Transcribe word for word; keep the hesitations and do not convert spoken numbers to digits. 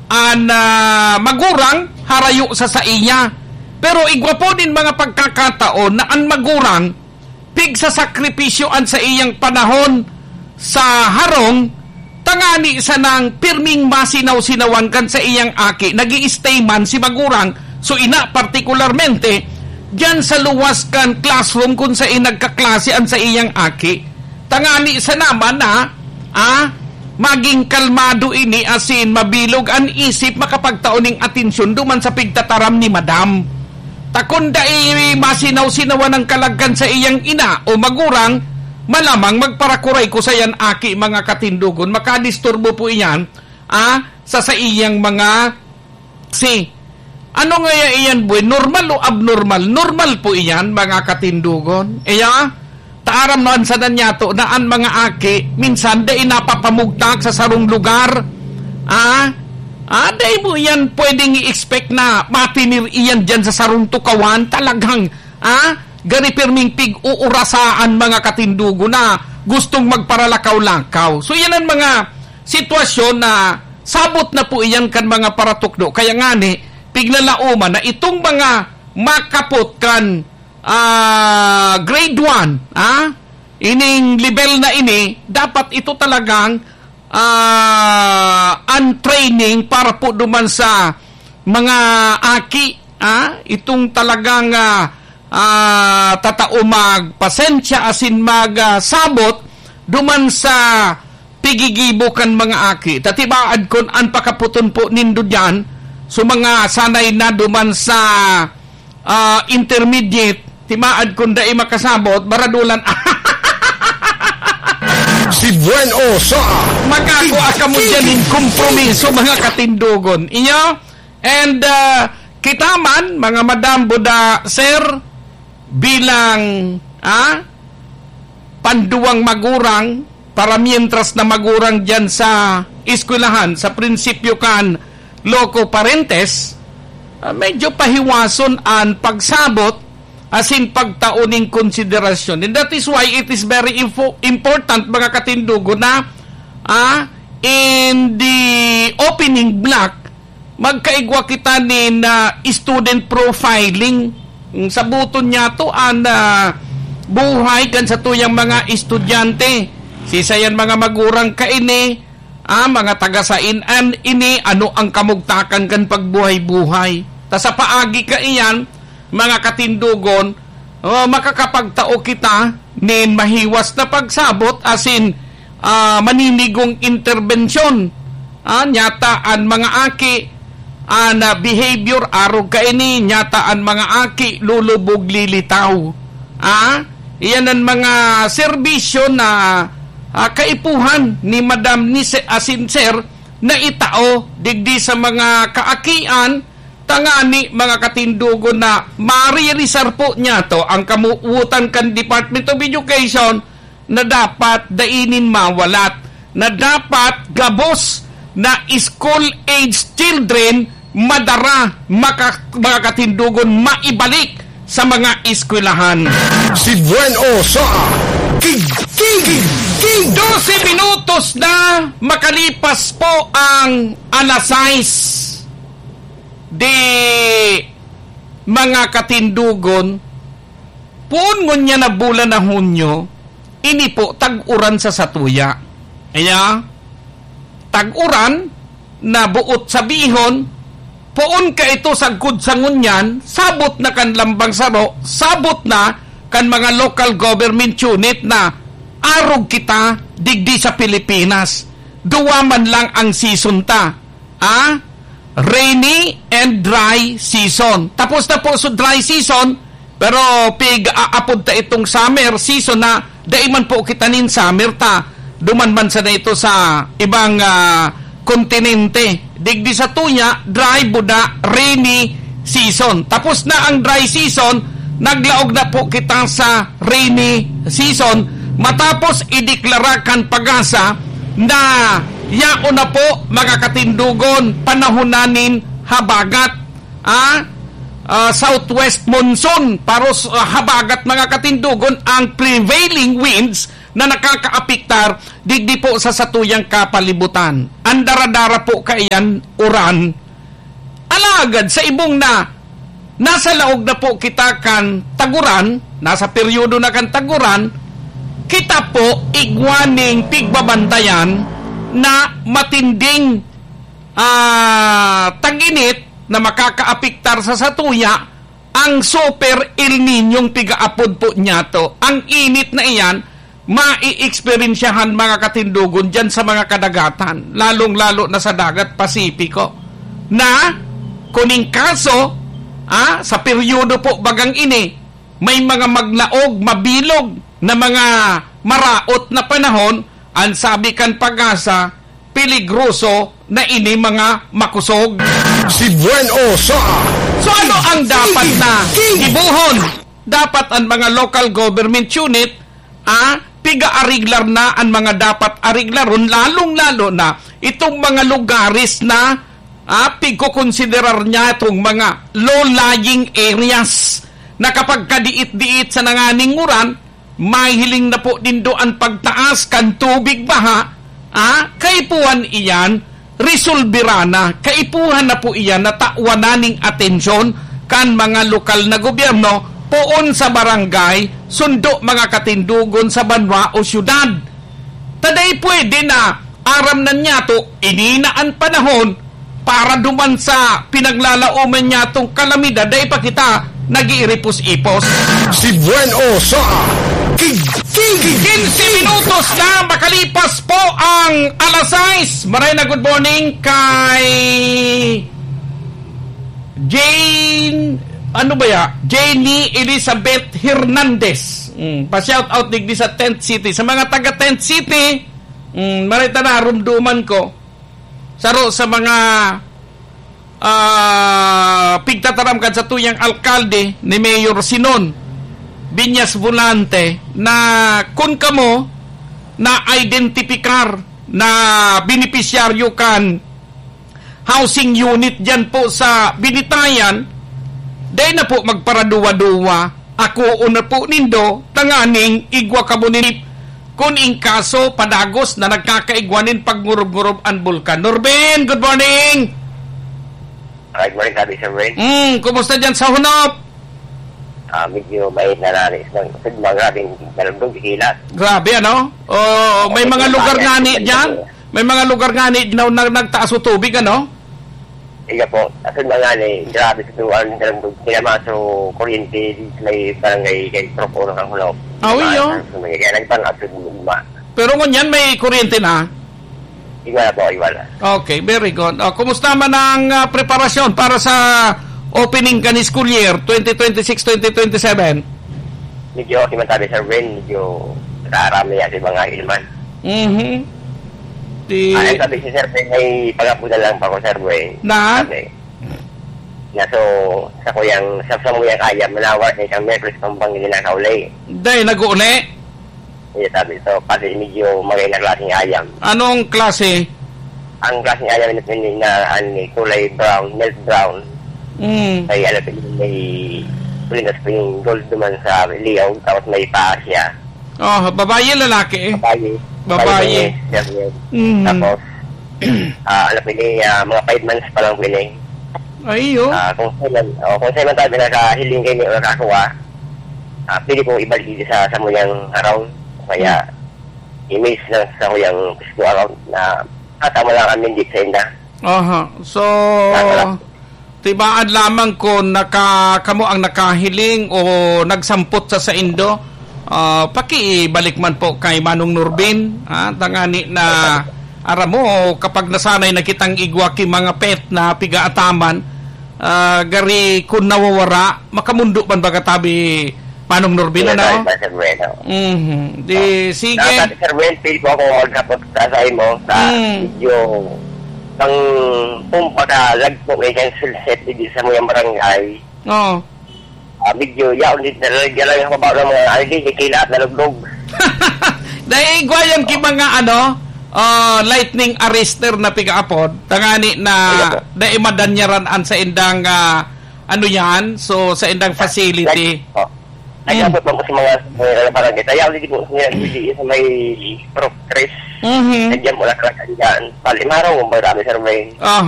an, ah, magurang harayo sa saiya. Pero igwa po nin mga pagkakataon na an magurang pigsasakripisyo an saiyang panahon sa harong, tangani sanang pirming masinaw-sinawan kan saiyang aki. Nag-i-stay man si magurang, so ina partikularmente, diyan sa luwas kan classroom kun saen nagkaklase an saiyang aki. Tangani sana man na, ah, magin kalmado ini asin mabilog an isip, makapagtao ning atensyon duman sa pigtataram ni madam. Ta kun dai masinaw-sinawan an kalag kan saiyang ina o magurang, malamang magparakuray ko sayan aki, mga katindogon. Makadisturbo po iyan, ah, sa saiyang mga si, ano ngaya iyan, buhay? Normal o abnormal? Normal po iyan, mga katindogon. Iya, taaram na an sana niyato na an mga aki, minsan dai napapamugtak sa sarong lugar. Ah? Ah, dai mo iyan pwedeng i-expect na matinir iyan diyan sa sarong tukawan. Talagang, ah, gari pirming pig-uurasaan, mga katindogon, na gustong magparalakaw-lakaw. So, iyan an mga sitwasyon na sabot na po iyan kan mga paratukdo. Kaya ngani, piglalaoman na itong mga makapot kan, ah, grade one, ah, ining level na ini, dapat ito talagang, ah, an training para po duman sa mga aki, ah, itong talagang, ah, ah, tatao magpasensya asin mag, ah, sabot duman sa pigigibo kan mga aki. Ta tibaad kun an pakaputon po nindo diyan, so mga sanay na duman sa, ah, intermediate, tibaad kun dai makasabot, baradulan. Si Buen O sa Magkakua kamo diyan nin kompromiso, mga katindogon. Iyo? And, ah, kita man, mga madam, buda, sir, bilang, ah, panduwang magurang, para mientras na magurang diyan sa eskwelahan, sa prinsipyo kan loco parentis, ah, medyo pahiwason an pagsabot asin pagtao nin konsiderasyon. And that is why it is very info-, important, mga katindogon, na, ah, in the opening block, magkaigwa kita nin, ah, student profiling. Saboton niyato an, ah, buhay kan satuyang mga estudyante. Siisay an mga magurang kaini, ah, mga taga saen an ini, ano ang kamugtakan kan pagbuhay-buhay. Ta sa paagi kaiyan, mga katindogon, oh, makakapagtao kita nin mahiwas na pagsabot asin, ah, maninigong interbensyon. Ah, nyata an mga aki, an, ah, behavior arog kaini, nyata an mga aki lulubog, lilitaw. Ah, iyan an mga serbisyo na, ah, kaipuhan ni Madam ni Se-, asin Sir na itao digdi sa mga kaakian, tangani, mga katindogon, na maririsar po niyato ang kamuwotan kan Department of Education na dapat dai nin mawalat, na dapat gabos na school-age children madara, maka-, mga katindogon, maibalik sa mga eskwelahan. Si Buen O sa Tig-, Tig-, Tig-, Dose minutos na makalipas po ang alas sais. Di, mga katindogon, poon ngunyan na bulan na Hunyo, ini po tag-uran sa satuya. Kaya, tag-uran na buot sabihon, poon ka ito sagkod sa ngunyan, sabot na kan lambang saro, sabot na kan mga local government unit na arog kita digdi sa Pilipinas. Duwa man lang ang season ta. Ah? Rainy and dry season. Tapos na po so dry season, pero pig-aapod ta itong summer season na dai man po kita nin summer ta. Duman man sana ito sa ibang, ah, kontinente. Digdi sa tuya, dry, buda, rainy season. Tapos na ang dry season, naglaog na po kita sa rainy season. Matapos ideklara kan PAGASA na yaon na po, mga katindogon, panahon na nin habagat, ah, ah, southwest monsoon, paros, ah, habagat, mga katindogon, ang prevailing winds na nakakaapektar digdi po sa satuyang kapalibutan. An dara-dara po kaiyan uran. Alagad sa ibong na nasa laog na po kita kan taguran, nasa peryodo na kan taguran, kita po igwa ning pigbabantayan na matinding, ah, tag-init na makakaapektar sa satuya, ang Super El Niñong pigaapod po niyato. Ang init na iyan, maiexperyensyahan, mga katindogon, diyan sa mga kadagatan, lalong-lalo na sa dagat Pasipiko, na kuning kaso, ah, sa peryodo po bagang ini, may mga maglaog, mabilog na mga maraot na panahon, ang sabi kan PAGASA, peligroso na ini mga makusog. Si Buen O sa So, ano ang dapat na King. gibuhon? Dapat ang mga local government unit, ah, piga-ariglar na ang mga dapat ariglaron, lalong-lalo na itong mga lugares na, ah, pigkokonsiderar niya itong mga low-lying areas na kapag kadiit-diit sa nanganinguran, mahiling na po nindo an pagtaas kan tubig baha, ah, kaipuhan iyan, resolbera na. Kaipuhan na po iyan na tawan na ning atensyon kan mga lokal na gobyerno, poon sa barangay, sundo mga katindogon sa banwa o syudad. Taday pwede na, aram na niyato, ini na an panahon para duman sa pinaglalaoman niyatong kalamidad, dai pa kita nag-iiripos-ipos. Si Buen O sa King, King, King. Quince minutos na makalipas po ang alas sais. Maray na good morning kay Jane, ano ba ya? Janie Elizabeth Hernandez. Mm, pa-shout out digdi sa Tent City. Sa mga taga Tent City, mm, maray ta narumduman ko. Saro sa mga, ah, pigtataram kan satuyang alkalde ni Mayor Sinon Viñas Volante na kun kamo na-identipikar na benepisyaryo kan housing unit diyan po sa Binitayan, dai na po magparaduwa-duwa. Akoon na po nindo tanganing igwa kamo nin kun in kaso padagos na nagkakaigwa nin pagngurub-ngurub an bulkan. Norben, good morning! Good morning, Kabi Sir Wayne. Mm, kumusta diyan sa Hunop? Ah, medyo mainit na nani. Sa mga grabing nalundog, ikilat. Grabe, ano? Oh, may mga lugar nga ni diyan. May mga lugar nga ni na, na, nagtaas o tubig, ano? Iya po. Asod mga ni, grabe sa tuwan, nalundog. Kaya maso kuryente, di may barangay kay Tropo ng Hunop. Ah, iyo. Kaya nagpang asod mo. Pero ngunyan may kuryente na? Iwala po, iwala. Okay, very good. Oh, kumusta man ang, ah, preparasyon para sa opening kan school year twenty twenty-six, twenty twenty-seven? Medyo okay man tabi, Sir Ben. Medyo nakaarami yan sa mga ilman. Mhm. Di- Ah, sabi si Sir Ben, may pag-abutan lang pa ko, Sir Ben. Na? Sabi. Na so, sa kuyang, sa, sa muyang ayam, manawar na isang Merkulis pang bangin na kaulay. Day, nag-uuli? Iya, sabi. So, pati medyo magay na klaseng ayam. Anong klase? Ang klaseng ayam na, na, na, ano, kulay brown, milk brown. Mm. May, ano, may, may, may gold naman sa liyaw, tapos may paa siya. Oh, babae, lalaki? Babae. Babae. Babae, yes, yes. Mm. Tapos, ah, ano po ini, ah, mga five months pa lang po ini. Ay, oh. Ah, kung saan, oh, kung saan man tayo nakahiling kayo, nakakuha, ah, pwede pong ibalik dito sa, sa muyang araw. Kaya, Hmm. i-mail lang sa muyang Facebook account na katama lang kami dito sa inda. Aha. So, Wala. Tibaan lamang kun naka-, kamo ang nakahiling o nagsampot sa saindo, ah, pakiibalik man po kay Manong Norbin, ah, tangani na aram mo, kapag nasanay na kitang igwa ki mga pet na pigaataman, ah, gari kun nawawara, makamundo man baga tabi Manong Norbin, Yes, ano? Sir Bueno. Mhm. Di, Ah, sige. Dapat, Sir Wen, pwede po ako maghapot sa, sa imo, sa Mm. video. Ang pumpa ka, lagpo kay kang sulset, di sa muyang barangay. Oo. Ah, medyo yaon din na lang, yan lang yung kabaw ng mga, ano, di, kikilat, nalugdog. Dahil igwa yan ki mga, ano, ah, lightning arrester na pigaapod, tangani na Ano po? dahil madanyaran an sa indang, ah, ano yan, so sa indang facility. Like, oh. Ay, Mm. abot lang po sa mga, mga barangay. Kaya hindi po sa, hindi sa may Pro Tres. Mhm. Nandiyan mo na talaga dyan. Palimaraw mo ba, grabe, Sir Wayne? Aha.